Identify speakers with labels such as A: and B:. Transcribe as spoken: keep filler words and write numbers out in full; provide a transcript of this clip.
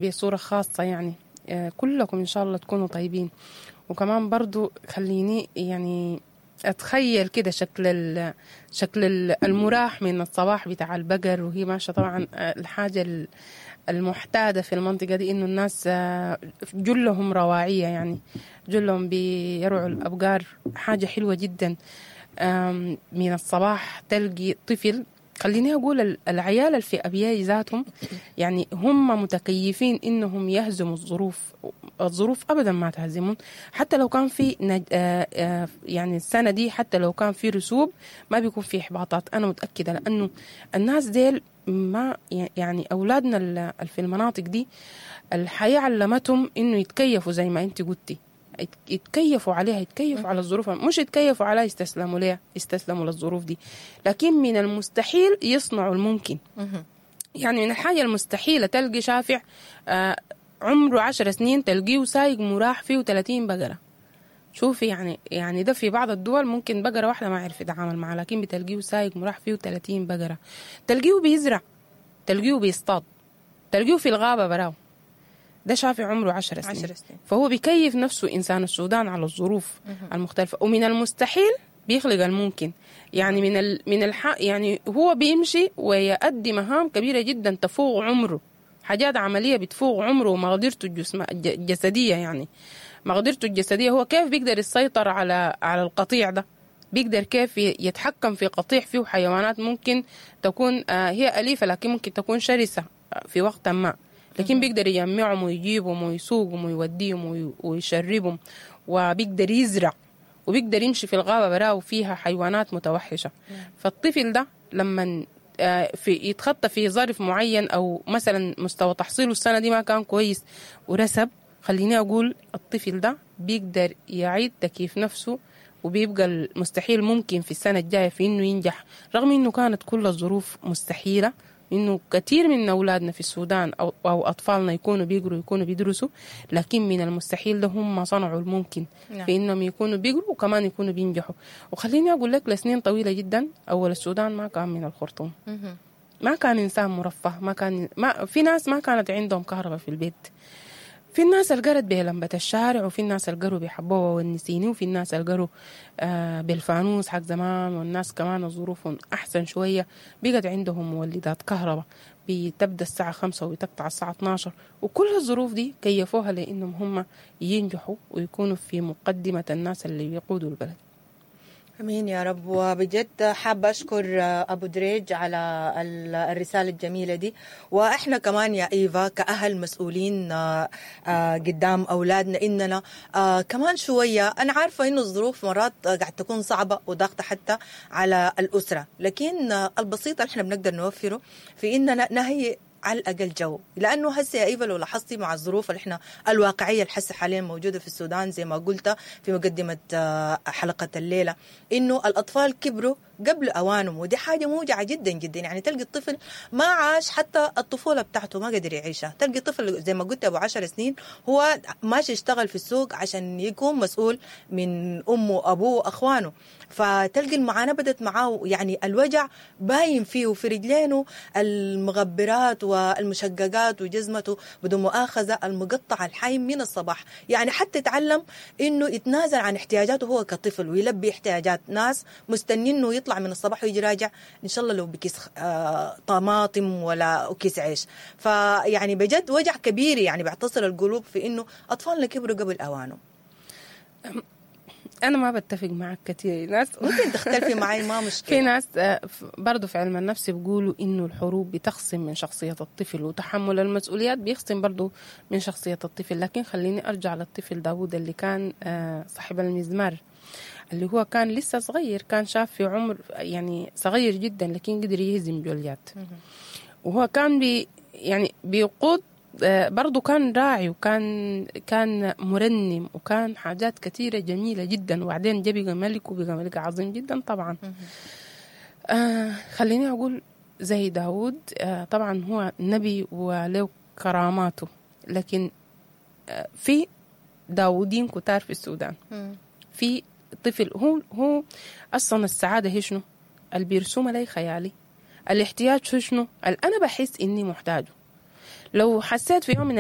A: بصورة خاصة يعني آه، كلكم إن شاء الله تكونوا طيبين. وكمان برضو خليني يعني أتخيل كده شكل ال شكل ال- المراح من الصباح بتاع البقر وهي ماشية. طبعا آه، الحاجة ال- المعتادة في المنطقة دي إنه الناس آه، جلهم رواعية، يعني جلهم بيرعوا الأبقار، حاجة حلوة جدا. آم، من الصباح تلقي طفل، خليني أقول ال- العيال اللي في أبياي ذاتهم يعني هم متكيفين إنهم يهزموا الظروف، الظروف أبدا ما تهزمهم، حتى لو كان في نج... آه آه يعني السنة دي حتى لو كان في رسوب ما بيكون في إحباطات، أنا متأكدة، لأنه الناس ديل ما يعني أولادنا ال- في المناطق دي الحياة علمتهم إنه يتكيفوا زي ما أنت قلتي، يت- يتكيفوا عليها، يتكيفوا على الظروف، مش يتكيفوا عليها يستسلموا ليها، يستسلموا للظروف دي، لكن من المستحيل يصنعوا الممكن. يعني من الحاجة المستحيلة تلقي شافع آه عمره عشر سنين تلقيه سايق مراح فيه ثلاثين بقرة. شوفي يعني يعني ده في بعض الدول ممكن بقرة واحدة ما يعرف يتعامل معها، لكن بتلقيه سايق مراح فيه ثلاثين بقرة، تلقيه بيزرع، تلقيه بيصطاد، تلقيه في الغابة براو. ده شافع عمره عشر سنين.
B: عشر سنين.
A: فهو بيكيف نفسه إنسان السودان على الظروف المختلفة، ومن المستحيل بيخلق الممكن. يعني من ال من الح يعني هو بيمشي ويؤدي مهام كبيرة جدا تفوق عمره، حاجات عملية بتفوق عمره ومقدرته الجسم الج- الجسدية، يعني مقدرته الجسدية هو كيف بيقدر يسيطر على على القطيع ده، بيقدر كيف يتحكم في قطيع فيه حيوانات ممكن تكون آه، هي أليفة لكن ممكن تكون شرسة آه، في وقت ما، لكن بيقدر يجمعهم ويجيبهم ويسوقهم ويوديهم وي- ويشربهم، وبيقدر يزرع، وبيقدر يمشي في الغابة براه وفيها حيوانات متوحشة. فالطفل ده لما آه، في يتخطى في ظرف معين أو مثلا مستوى تحصيله السنة دي ما كان كويس ورسب، خليني أقول الطفل ده بيقدر يعيد تكييف نفسه وبيبقى المستحيل ممكن في السنة الجاية في إنه ينجح، رغم إنه كانت كل الظروف مستحيلة، إنه كثير من أولادنا في السودان أو, أو أطفالنا يكونوا بيقروا يكونوا بيدرسوا، لكن من المستحيل ده هم صنعوا الممكن.
B: نعم.
A: في إنهم يكونوا بيقروا وكمان يكونوا بينجحوا. وخليني أقول لك لسنين طويلة جدا أول السودان ما كان من الخرطوم، ما كان إنسان مرفه، ما كان ما في ناس ما كانت عندهم كهرباء في البيت، في الناس اللي قرت بلمبة الشارع، وفي الناس اللي قروا بحبوها والنسيني، وفي الناس اللي قروا آه بالفانوس حق زمان، والناس كمان ظروفهم أحسن شوية بقت عندهم مولدات كهرباء بتبدأ الساعة خمسة وتقطع الساعة اتناشر، وكل الظروف دي كيفوها لأنهم هم ينجحوا ويكونوا في مقدمة الناس اللي بيقودوا البلد.
B: امين يا رب. وبجد حابة اشكر ابو دريج على ال- الرسالة الجميلة دي، واحنا كمان يا ايفا كاهل مسؤولين آه، آه، قدام اولادنا اننا آه، كمان شوية، انا عارفه انه الظروف مرات قاعد تكون صعبة وضاغطه حتى على الاسرة، لكن آه، البسيط اللي احنا بنقدر نوفره في اننا نهيئ على الاقل جو، لانه هسه يا ايفا لو لاحظتي مع الظروف اللي احنا الواقعية اللي هسه حاليا موجودة في السودان زي ما قلت في مقدمه آه، حلقة الليلة، انه الاطفال كبروا قبل اوانهم، ودي حاجة موجعة جدا جدا. يعني تلقي الطفل ما عاش حتى الطفولة بتاعته ما قدر يعيشها، تلقي طفل زي ما قلت ابو عشر سنين هو ماشي يشتغل في السوق عشان يكون مسؤول من امه وابوه واخوانه، فتلقي المعاناة بدت معاه، يعني الوجع باين فيه وفي رجلينه المغبرات والمشققات وجزمته بدون مؤاخذة المقطع الحي من الصباح. يعني حتى تعلم انه يتنازل عن احتياجاته هو كطفل ويلبي احتياجات ناس مستنين انه يطلع من الصباح ويجي راجع ان شاء الله لو بكيس آه، طماطم ولا كيس عيش. فيعني بجد وجع كبير يعني بيعتصر القلوب في انه اطفالنا كبروا قبل اوانهم.
A: أنا ما بتفق معك كثير ناس
B: ممكن تختلفي معي ما مشكلة.
A: في ناس آه، ف- برضو في علم النفس بيقولوا إنه الحروب بتخصم من شخصية الطفل، وتحمل المسؤوليات بيخصم برضو من شخصية الطفل. لكن خليني أرجع للطفل داوود اللي كان آه، صاحب المزمار، اللي هو كان لسه صغير، كان شاف في عمر يعني صغير جدا، لكن قدر يهزم جوليات، وهو كان بي يعني بيقود آه، برضو كان راعي، وكان كان مرنم، وكان حاجات كثيرة جميلة جدا، وبعدين جا بقى ملك، وبقى ملك عظيم جدا طبعا. آه خليني أقول زي داود، آه طبعا هو نبي وله كراماته، لكن آه في داودين كتار في السودان. في طفل هو هو أصلا السعادة هي شنو؟ اللي بيرسمها لي خيالي، الاحتياج هو شنو؟ اللي أنا بحس إني محتاجه. لو حسيت في يوم من